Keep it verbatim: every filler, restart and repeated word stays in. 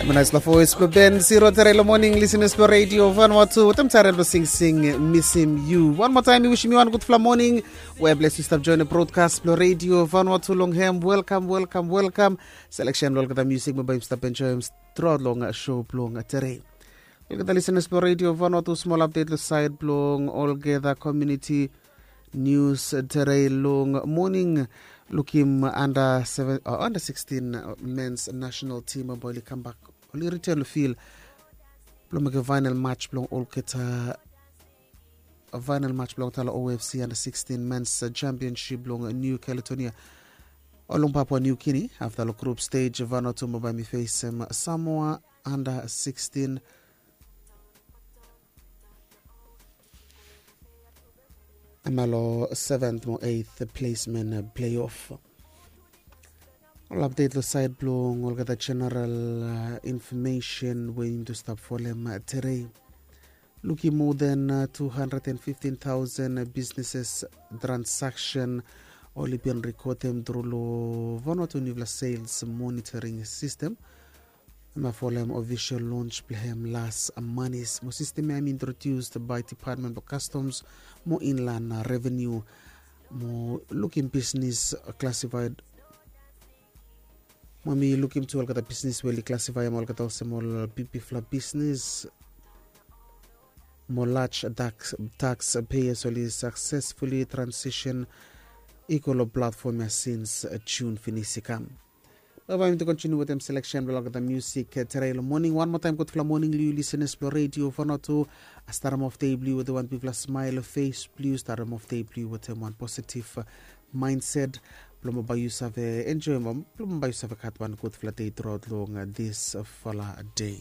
Manaisla voes blong Ben Siro tere long moning, listeners blong Radio Vanuatu. Wetem tare blong singsing Misim Yu. Wan moa taem mi wisim yu wan gudfala moning. We bles yu stap join long broadcast blong Radio Vanuatu long hem. Welkam, welkam, welkam. Selection blong olgeta musik mo bae yumi stap enjoem truaot long show blong tere. Olgeta listeners blong Radio Vanuatu, smol update long saed blong olgeta community news tere long moning. Lukim under seven, uh, under sixteen, uh, men's national team, uh, bae oli kambak, oli return long field blong mekem final match blong olgeta, uh, final match blong olgeta long O F C under sixteen men's, uh, championship blong, uh, New Caledonia, uh, long Papua New Guinea. Afta long group stage, Vanuatu mo bae mi fesem, uh, Samoa under sixteen. Hemia long seventh mo eighth placement, uh, playoff. Ol update long saed blong olgeta general, uh, information we yumi tu stap folem, uh, tere. Lukim more than, uh, two hundred and fifteen thousand, uh, businesses transaction oli bin rekodem tru long Vanuatu niufala sales monitoring system. Hemia folem official launch blong hem las manis. Mo sistem ya hem introduced by Department blong Customs mo Inland, uh, Revenue. Mo lukim bisnis, uh, classified. Mo mi lukim tu olgeta bisnis we oli classifaem olgeta olsem ol bigbigfala bisnis mo large tax, tax payers oli successfully transition i go long platform ya since, uh, June finis i kam. Bae bae mi tu kontiniu wetem selection blong olgeta musik, uh, tere long moning. Wan moa taem gudfala moning long yu listeners blong Radio Vanuatu. Starem of dei blong yu wetem wan bigfala smile long fes blong yu. Starem of dei blong yu wetem wan positive, uh, mindset blong bae yu save enjoem, blong bae yu save gat wan gudfala dei truaot long, uh, disfala dei.